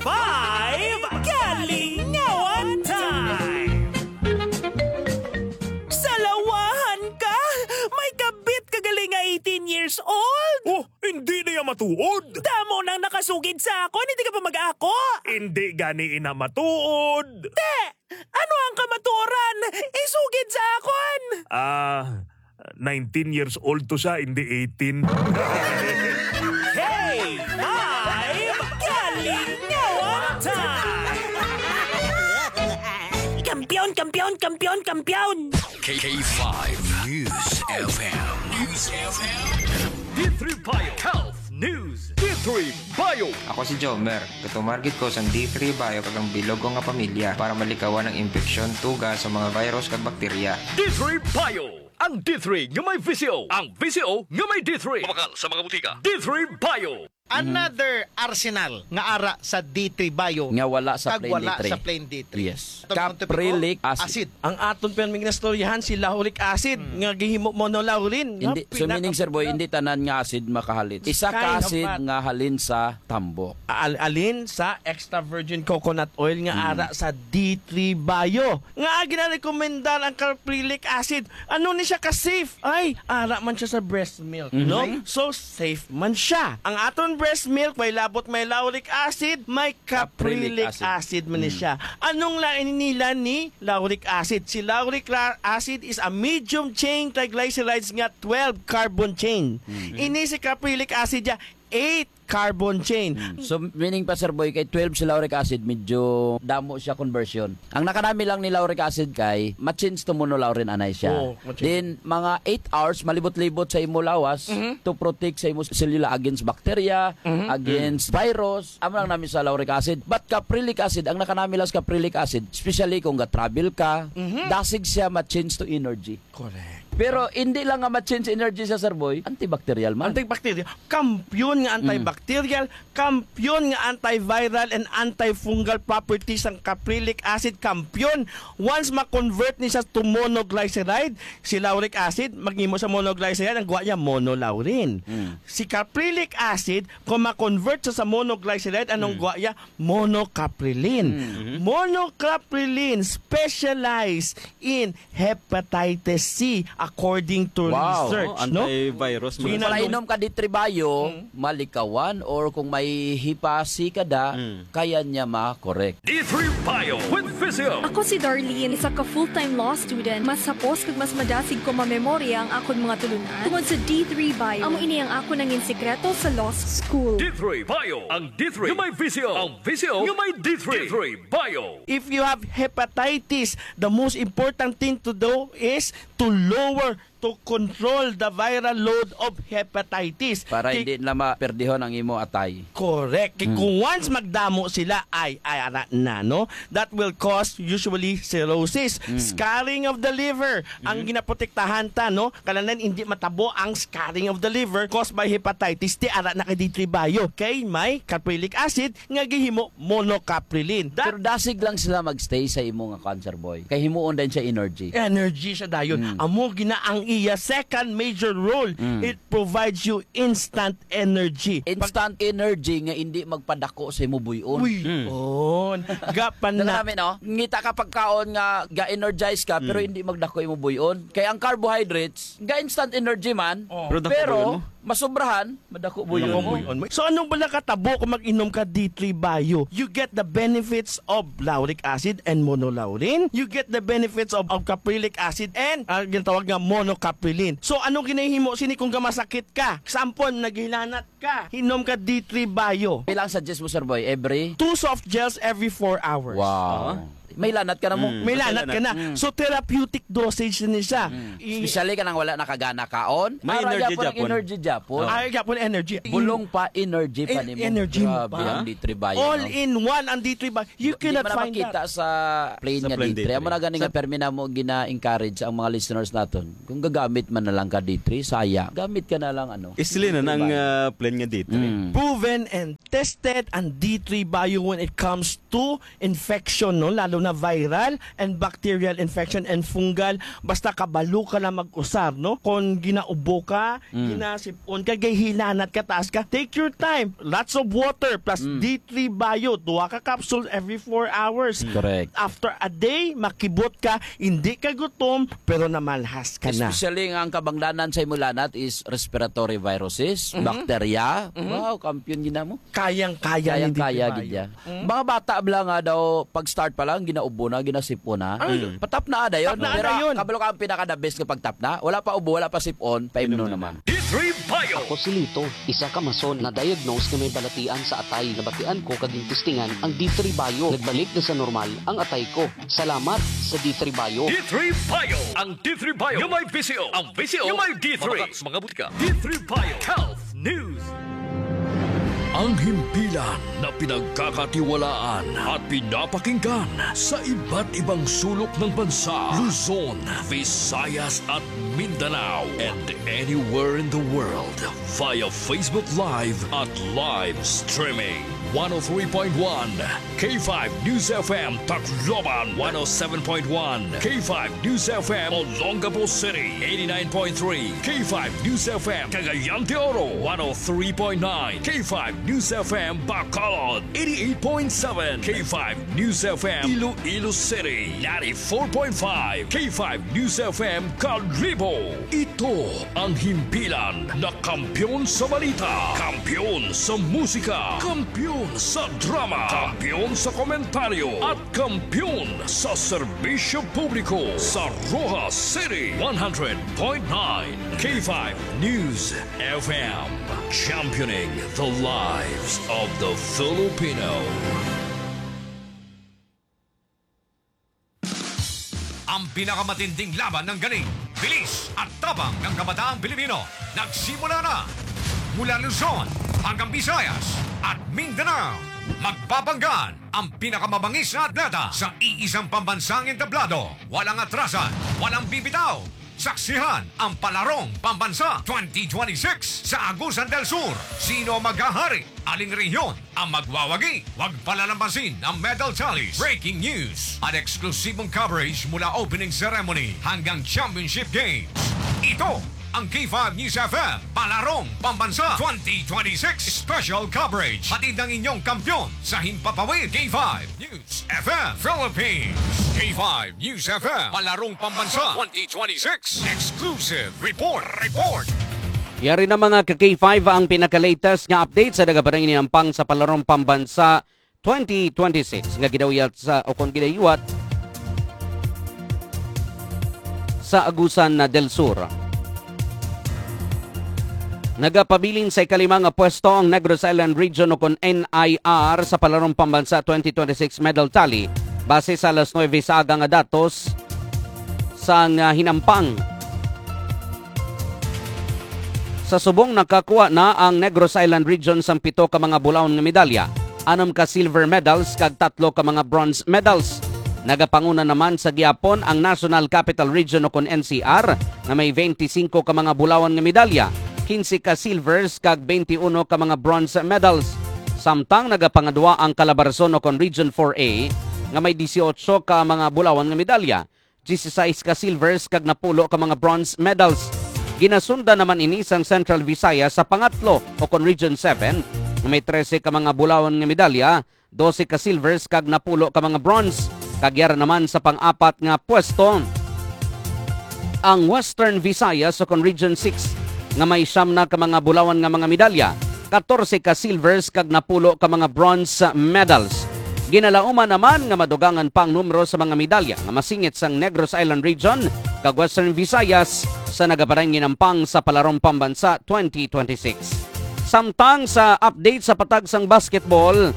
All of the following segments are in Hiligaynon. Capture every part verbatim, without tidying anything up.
Five Kalingawan Time! Salawahan ka! May kabit ka gali nga eighteen years old! Oh, hindi niya matuod! Damo nang nakasugid sa akon, hindi ka pa mag-ako! Hindi gani ina matuod! Te! Ano ang kamatuoran? Isugid sa akon! Ah, nineteen years old to siya, hindi eighteen. K five Kalingawan Time! Kampiyon, kampiyon, kampiyon, kampiyon! K five News F M. News F M. D three Bio Health News. D three Bio. Ako si Jomer. Gatumar gid ko sang D three Bio kag ang bilog ko nga pamilya para malikawan ang impeksyon, tuga sa mga virus kag bakterya. D three Bio. Ang D three nga may V C O. Ang V C O nga may D three. Mabakal sa mga butika. D three Bio. Another arsenal nga ara sa D three Bio Nga wala sa kag plain wala D three. sa plain D tee. Yes. Atong Caprylic topic, acid. acid. Ang aton pirming nastoryahan, si lauric acid, Mm. nga gihimo monolaurin. Nga Hindi, so meaning, pinakamula. Sir Boy, hindi tanan nga acid makahalin. Isa ka Kind of acid bad. nga halin sa tambok. Al-, alin sa extra virgin coconut oil nga Mm. ara sa D three Bio. Nga ginarekomendar ang caprylic acid. Ano ni siya ka safe? Ay, ara man siya sa breast milk, no? Mhm. So, safe man siya. Ang aton breast milk, may labot, may lauric acid, may Caprylic caprylic acid. acid man ni Mm. siya. Anong lain nila ni lauric acid? Si lauric ra-, acid is a medium chain triglycerides nga twelve carbon chain. Mm. Ini si caprylic acid niya, eight carbon chain. Mm. So, meaning pa, Sir Boy, kay twelve si lauric acid, medyo damo siya conversion. Ang nakanami lang ni lauric acid kay ma-change to monolaurin anay siya. Oo, ma-change. Then, mga eight hours, malibot-libot sa imo lawas Mhm. to protect sa imo selula against bacteria, Mhm. against virus. Amo lang nami sa lauric acid. But caprylic acid, ang nakanami lang sa caprylic acid, especially kung ga-travel ka, Mhm. dasig siya ma-change to energy. Correct. Pero hindi lang nga ma-change energy sa, Sir Boy, antibacterial man. Antibacterial. Kampiyon nga Mm. antibacterial, kampiyon nga antiviral and antifungal properties ang caprylic acid. Kampiyon. Once ma-convert ni siya to monoglyceride, si lauric acid, maghimo sa monoglyceride, ang guwa niya monolaurin. Mm. Si caprylic acid, kung ma-convert sa, sa monoglyceride, anong Mm. guwa niya? Monocapryline. Mm. Monocapryline specialized in hepatitis C, according to Wow. research, Oh, no? antivirus So, man. Pala Ginano- inom ka D three Bio, Mm. malikawan, or kung may hipa C ka da, Mm. kaya niya ma-correct. D three Bio with Physio. Ako si Darlene, isa ka full-time law student. Mas hapos kag mas madasig ko mamemorya ang akon mga tulunan tungod sa D three Bio. Amo ini ang akon nangin sikreto sa law school. D three Bio, ang D three nga may Physio, ang Physio nga may D three. D three Bio. If you have hepatitis, the most important thing to do is to lower, to control the viral load of hepatitis. Para Kay hindi na maperdihon ang imo atay. Correct. Kay Hmm. kung once magdamo sila, ay, ay, ara na, no? That will cause usually cirrhosis, Hmm. scarring of the liver. Ang Hmm. ginaprotektahan ta, no? Kalanan hindi matabo ang scarring of the liver caused by hepatitis. Ti ara na kay D three Bio. Kay may caprylic acid nga gihimo monocapryline. That Pero dasig lang sila magstay sa imo nga cancer boy. Kay himuon din siya energy. Energy siya dayon. Mm. Amo gina ang iya second major role. Mm. It provides you instant energy. Pag Instant energy nga hindi magpadako sa imo buy-on. Uy, Mm. on. Gapan Dala na. namin, no? Ngita ka pagkaon nga ga-energize ka, pero Mm. hindi magdako imo buy-on. Kay ang carbohydrates, ga-instant energy man, Oh. Pero dako pero buy-on mo. masobrahan, madako buy-on Madako mo. buy-on mo. So, ano ba nakatabo kung mag-inom ka D three Bio? You get the benefits of lauric acid and monolaurin. You get the benefits of, of caprylic acid and, ah, ginatawag nga monocapryline. So, ano ginahimo sini kung gamasakit ka? Example, naghilanat ka, hinom ka D three Bio. Pila ang suggest mo, Sir Boy? Every? Two soft gels every four hours. Wow. Ah. May lanat ka na mo. Mm. May lanat ka na. Mm. So, therapeutic dosage na siya. Mm. I- Especially ka nang wala nakagana kaon. May Ara energy gyapon ang gyapon. energy gyapon. Oh. Ara gyapon energy. Bulong pa, energy pa En-, nimo. energy mo Grabe pa. ang D three Bio, All no? in one ang D three Bio. You Di cannot man na find makita that. sa plain Sa nga plain D three. D three. Amo na gani nga Sa permi na mo gina-encourage ang mga listeners naton. Kung gagamit man na lang ka D three, saya. Gamit ka na lang, ano, Isli na D three ng, Bio. ah, plain nga D three. Mm. Proven and tested ang D three Bio when it comes to infection, no? Lalo na viral and bacterial infection and fungal, basta kabalo ka na mag-usab, no? Kon ginaubo ka, Mm. ginasipon ka, gay hilanat ka, taas ka, take your time. Lots of water plus Mm. D three Bio. Duha ka capsule every four hours. Correct. After a day, makibot ka, hindi ka gutom, pero namalhas ka na. Especially nga ang kabangdanan sa imo lanat is respiratory viruses, Mhm. bakterya. Mhm. Wow, kampiyon gid namo. Kayang-kaya ni Kayang-kaya D three Bio. gid ya. Mm. Mga bata bala nga daw, pag-start pa lang, ginaubo na, ginasipon na. Ay. Mm. Patapna dayon. Tapna Pero dayon. kabalo ka ang pinaka-the best nga pagtapna. Wala pa ubo, wala pa sipon, paimno Inom na naman. D three Bio. Ako si Lito, isa ka mason na diagnose nga may balatian sa atay. Nabatian ko kag gintistingan ang D three Bio. Nagbalik na sa normal ang atay ko. Salamat sa D three Bio. D three Bio. Ang D three Bio nga may V C O. Ang V C O nga may D three. Mabakas mga butika. D three Bio Health News. Ang himpilan na pinagkakatiwalaan at pinapakinggan sa iba't ibang sulok ng bansa, Luzon, Visayas at Mindanao, and anywhere in the world via Facebook Live at live streaming. One oh three point one K five News F M Tacloban, one oh seven point one K five News F M Olongapo City, eighty-nine point three K five News F M Cagayan de Oro, one oh three point nine K five News F M Bacolod, eighty-eight point seven K five News F M Iloilo City, ninety-four point five K five News F M Kalibo. Ito ang himpilan na kampiyon sa balita, kampiyon sa musika, kampiyon sa drama, kampiyon sa komentaryo, at kampiyon sa serbisyo publiko sa Roxas City, one hundred point nine K five News F M, championing the lives of the Filipino. Ang pinakamatinding laban ng galing, bilis at tapang ng kabataang Pilipino nagsimula na. Mula Luzon hanggang Visayas at Mindanao, magbabanggaan ang pinakamabangis na atleta sa iisang pambansang entablado. Walang atrasan, walang bibitaw. Saksihan ang Palarong Pambansa twenty twenty-six sa Agusan del Sur. Sino ang maghahari? Aling rehiyon ang magwawagi? Huwag palalampasin ang medal tallies, breaking news, at eksklusibong coverage mula opening ceremony hanggang championship games. Ito ang K five News F M Palarong Pambansa twenty twenty-six Special Coverage. Hatid ng inyong kampiyon sa Himpapawid, K five News F M Philippines. K five News F M Palarong Pambansa twenty twenty-six Exclusive Report. Report. Yari na, mga ka K five, ang pinaka-latest nga update sa nagapanahinampang sa Palarong Pambansa twenty twenty-six nga gidawat sa, o kon gidawat sa Agusan del Sur. Nagapabilin sa ikalima nga pwesto ang Negros Island Region, o kon N I R, sa Palarong Pambansa twenty twenty-six medal tally base sa alas nuebe sa aga nga datos sang, ah, hinampang. Sa subong, nakakuha na ang Negros Island Region sang pito ka mga bulawan nga medalya, anum ka silver medals kag tatlo ka mga bronze medals. Nagapanguna naman sa gihapon ang National Capital Region, o kon N C R, nga may twenty-five ka mga bulawan nga medalya, quince ka silvers kag twenty-one ka mga bronze medals. Samtang nagapangadwa ang Calabarzon, o kon Region four A, nga may dieciocho ka mga bulawan nga medalya, dieciséis ka silvers kag napulo ka mga bronze medals. Ginasundan naman ini sang Central Visayas sa pangatlo, o kon Region seven, nga may trese ka mga bulawan nga medalya, dose ka silvers kag napulo ka mga bronze, kag yara naman sa pang-apat nga pwesto ang Western Visayas, o kon Region six, nga may siyam na ka mga bulawan nga mga medalya, katorse ka silvers kag napulo ka mga bronze medals. Ginalauman naman nga madugangan pa ang numero sa mga medalya nga masingit sang Negros Island Region kag Western Visayas sa nagapanahinampang sa Palarong Pambansa twenty twenty-six. Samtang sa update sa patag sang basketball,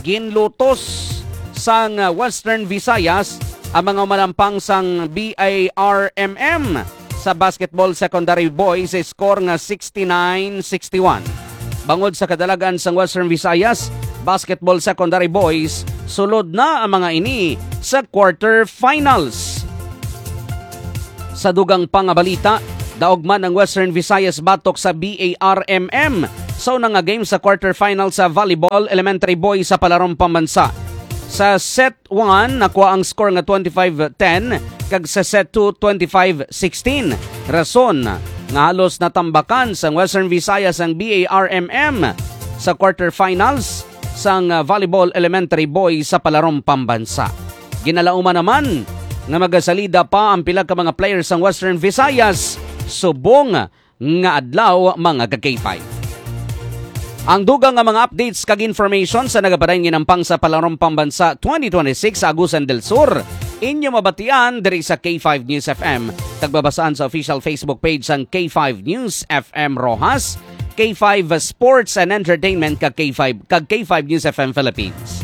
ginlutos sang Western Visayas ang mga umalampang sang B A R M M sa basketball secondary boys sa score nga sixty-nine sixty-one. Bangod sa kadalagan sang Western Visayas basketball secondary boys, sulod na ang mga ini sa quarter finals. Sa dugang pa nga balita, daog man ang Western Visayas batok sa B A R M M sa una nga game sa quarterfinal sa volleyball elementary boys sa Palarong Pambansa. Sa set one, nakuha ang score nga twenty-five ten, kag sa set two, twenty-five sixteen. Rason nga halos natambakan sang Western Visayas ang B A R M M sa quarterfinals sang, ah, Volleyball Elementary Boys sa Palarong Pambansa. Ginalauman naman nga magasalida pa ang pila ka mga players sang Western Visayas subong nga adlaw, mga ka-K five. Ang dugang nga mga updates kag information sa nagapadayon nga hinampang sa Palarong Pambansa twenty twenty-six sa Agusan del Sur, inyo mabatian diri sa K five News F M, kag mabasaan sa official Facebook page sang K five News F M Roxas, K five Sports and Entertainment, kag K five, kag K five News F M Philippines.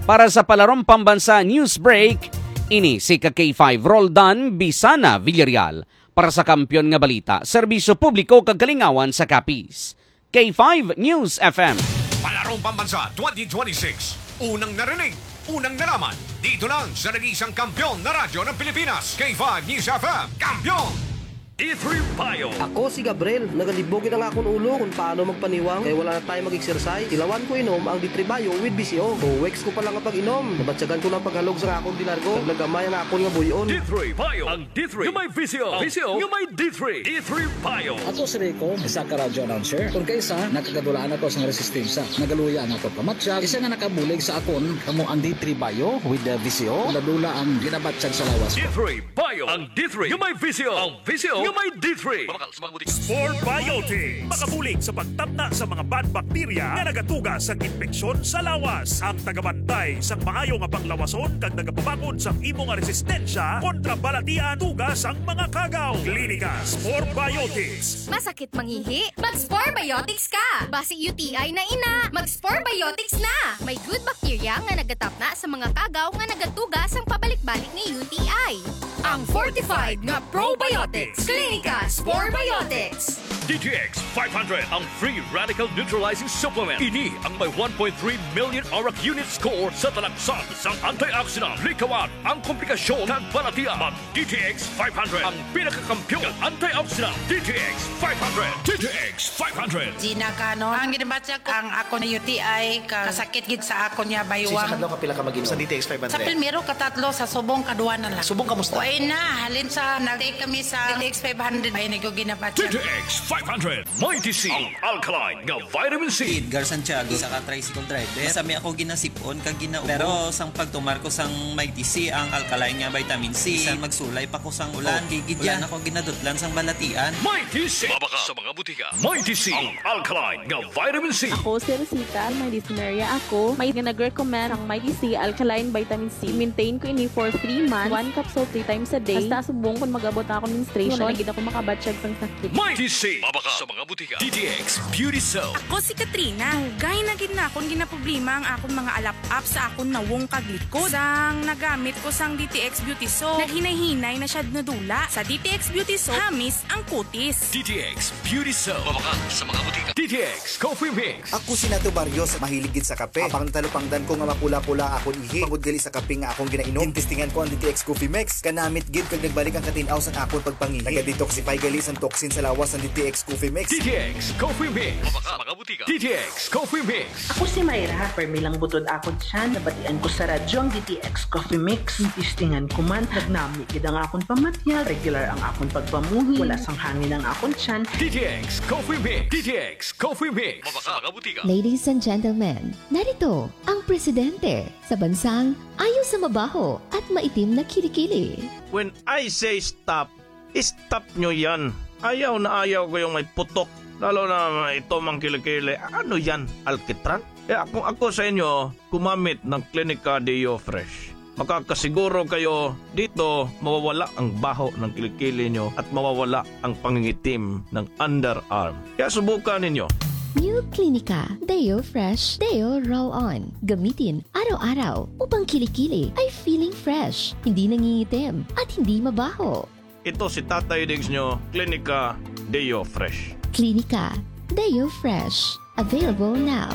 Para sa Palarong Pambansa News Break, ini si ka K five Roldan Bisana Villarreal. Para sa Kampiyon nga Balita, Serbisyo Publiko kag Kalingawan sa Capiz, K five News F M. Palarong Pambansa twenty twenty-six. Unang narinig, unang nalaman. Dito lang sa nag-iisang kampiyon na radyo ng Pilipinas, K five News F M. Kampiyon! D three Bio. Ako si Gabriel. Nagalibog gid ang akon ulo kung paano magpaniwang kay wala na tayo mag-exercise. Tilawan ko inom ang D three Bio with V C O. Two weeks ko pa lang ang pag-inom. Nabatyagan ko na ang paghalog sa akon di largo. Kag nagamay ang akon nga buy-on. D three Bio. Ang D three nga may V C O. V C O nga may D three. D three Bio. Ako si Rico, isa ka radyo announcer. Kung kaisa, nakagadulaan ako sang resistensya. Nagaluya ang akon pamatyag. Isa nga nakabulig sa akon, kamo ang D three Bio with the V C O. Dula-dula ang ginabatyag sa lawas ko. D three Bio. Ang D three nga may V C O. Ang V C O nga may D three. Mabakal sa mga butika. Spore Biotics. Makabulig sa pagtapna sa mga bad bacteria nga nagatuga sang impeksyon sa lawas. Ang tagabantay sang maayo nga panglawason kag nagapabakod sang imo nga resistensya kontra balatian tuga sang mga kagaw. Klinika Spore Biotics. Masakit mangihi? Mag-Spore Biotics ka! Basi U T I na ina, mag-Spore Biotics na! May good bacteria nga nagatapna sa mga kagaw nga nagatuga sang pabalik-balik nga U T I. Ang fortified nga probiotics. Klinika Spore Biotics. D T X five hundred, ang free radical neutralizing supplement. Ini ang may one point three million arak unit score sa talaksan sang antioxidant. Likawan ang komplikasyon kag balatian. Mag D T X five hundred, ang pinakakampiyon nga antioxidant. D T X five hundred. D T X five hundred. Gina Canon. Ang ginabatya ko, ang ako na U T I, ka-, kasakit gid sa akon niya, baywang. Sa isa ka adlaw, kapila ka mag-inom sa D T X five hundred? Sa primero, katatlo, sa subong, kadua na lang. Subong, kamusta? Way na, halin sa nag-take kami sa D T X five hundred, ay, nagyo ginabatya. D T X five hundred, Mighty C, ang alkaline nga vitamin C. Edgar Santiago, isa ka tricycle driver. Masami ako ginasip-on kag ginaubos. Pero sang pagtumar ko sang Mighty C, ang alkaline nga vitamin C, bisan magsulay pa ko sang ulan, oh, kay gid wala na ko ginadutlan sang balatian. Mighty C. Mabakal sa mga butika. Mighty C, ang alkaline nga vitamin C. Ako si Rosita, may dysmenorrhea ako. May nga nag-recommend ang Mighty C alkaline vitamin C. Maintain ko ini for three months. One capsule three times a day. Hasta subong kung mag-abot na akong menstruation, wala na gid ako makabatyag sang sakit. Mighty C. Mabakal sa mga butika. D T X Beauty Soap. Ako si Katrina. Dugay na gid na akon ginaproblema ang akon mga alap-ap sa akon nawong kag likod. Sang nagamit ko sang D T X Beauty Soap, naghinay-hinay na siya nadula. Sa D T X Beauty Soap, hamis ang kutis. D T X Beauty Soap. Mabakal sa mga butika. D T X Coffee Mix. Ako si Nato Barrios, mahilig gid sa kape. Apang natalupangdan ko nga mapula-pula akon ihi tungod gali sa kape nga akon ginainom. Ginstingan ko ang D T X Coffee Mix. Kanamit gid kag nagbalik ang katin-aw sang akon pagpangihi. Naga-detoxify gali sang toxin sa lawas ang D T X Coffee Mix. D T X Coffee Mix. Mabakal sa mga butika. D T X Coffee Mix. Ako si Myra, permi lang butod akon tiyan. Nabatian ko sa radyo ang D T X Coffee Mix. Ginstingan ko man, nagnami gid ang akon pamatyag. Regular ang akon pagpamuhi. Wala sang hangin ang akon tiyan. D T X Coffee Mix. D T X Coffee Mix. Mabakal sa mga butika. Ladies and gentlemen, narito ang presidente sa bansang ayaw sa mabaho at maitim na kilikili. When I say stop, stop nyo yan. Ayaw na ayaw ko yung may putok. Lalo na ito mang kilikili. Ano yan? Alkitran? Kaya kung ako sa inyo, gumamit ng Clinica Deo Fresh. Makakasiguro kayo dito mawawala ang baho ng kilikili nyo at mawawala ang pangingitim ng underarm. Kaya subukan ninyo. New Clinica Deo Fresh Deo Roll On. Gamitin araw-araw upang kilikili ay feeling fresh, hindi nangingitim, at hindi mabaho. Ito si Tatay Diggs nyo, Clinica Deo Fresh. Clinica Deo Fresh. Available now.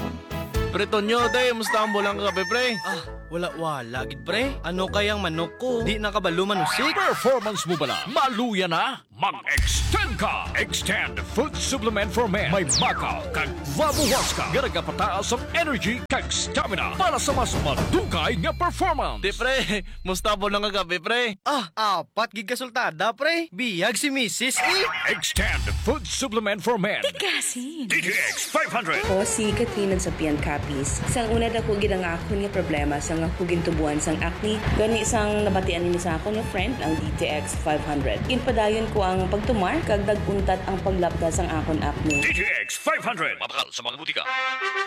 Pre Tonyo, day, musta ang bulang kagabi, pre? Ah, Wala-wala gid, pre. Ano kay ang manok ko? Di na kabalo manusik. Performance mo bala? Maluya na? Mag-extend ka! Extend Food Supplement for Men. May baka kag labuhas ka nga nagapataas ang energy kag stamina para sa mas madugay nga performance. Di, pre. Musta po lang kagabi, pre? Ah, apat gid ka sultada, pre. Biyag si misis, eh. Extend Food Supplement for Men. Tigasin. D T X five hundred. Ako si Katrina Japian Capiz. Sang una, dako gid ang akon nga problema sang ako gintubuan sang acne. Gani, sang nabatian ini sa akon nga friend, ang D T X five hundred, ginpadayon ko ang pagtumar kag nag-untat ang paglapda sang akon acne. D T X five hundred. Mabakal sa mga butika.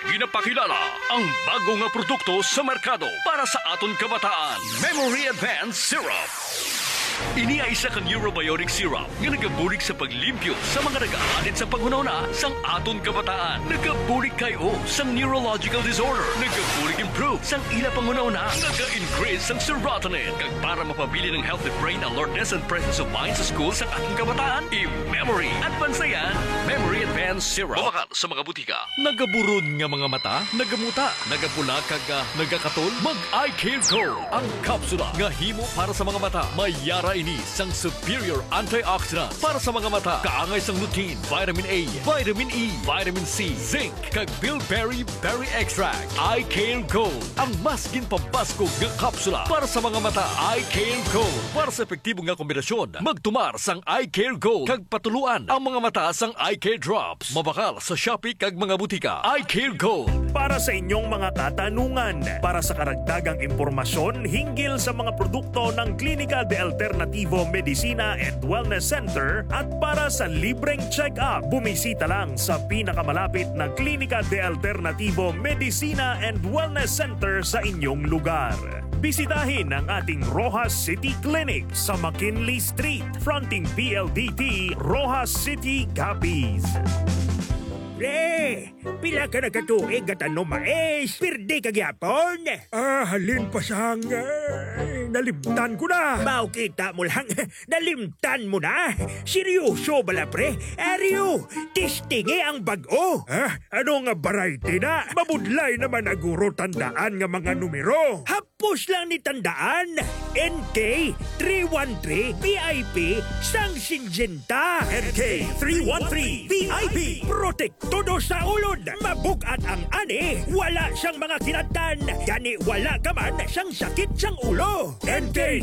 Ginapakilala ang bago nga produkto sa merkado para sa aton kabataan. Memory Advance Syrup. Ini ay isa ka neurobiotic syrup nga nagabulig sa paglimpyo sa mga nagaalit sa panghunahuna sang aton kabataan. Nagabulig kay o sang neurological disorder. Nagabulig improve sang ila panghunahuna. Naga-increase sang serotonin. Kag para mapabilin ang healthy brain alertness and presence of mind sa school sang aton kabataan, i-memory advance na yan. Memory Advance Syrup. Mabakal sa mga butika. Nagaburon nga mga mata, nagamuta, nagapula kag, ah, nagakatol? Mag Eye Care Gold, ang kapsula nga himo para sa mga mata. May yara ini sang superior antioxidants para sa mga mata, kaangay sang lutein, vitamin A, vitamin E, vitamin C, zinc, kag bilberry berry extract. Eye Care Gold, ang mas ginpabaskog nga kapsula para sa mga mata. Eye Care Gold, para sa epektibo nga kombinasyon, magtumar sang Eye Care Gold kag patuluan ang mga mata sang Eye Care Drops. Mabakal sa Shopee kag mga butika. Eye Care Gold. Para sa inyong mga katanungan, para sa karagdagang impormasyon hinggil sa mga produkto ng Klinika de Alternativo Medicina and Wellness Center at para sa libreng check-up, bumisita lang sa pinakamalapit na Klinika de Alternativo Medicina and Wellness Center sa inyong lugar. Bisitahin ang ating Roxas City Clinic sa McKinley Street, fronting P L D T, Roxas City, Capiz. Pre, pila ka na ka tuig nga tanom mais? Pirdi ka gyapon? Ah, halin pa sang, eh, nalimtan ko na. Mao, kita mo lang, nalimtan mo na. Seryoso bala, pre? Ariyo, testingi ang bag-o. Ah, ano nga variety na? Mabudlay naman na guro tandaan nga mga numero. Hapos lang ni tandaan, N K three one three V I P sang Syngenta. N K three one three V I P, protektodo sa ulod. Mabug-at ang ani, wala siyang mga kinattan, gani wala ka man siyang sakit sang ulo. N K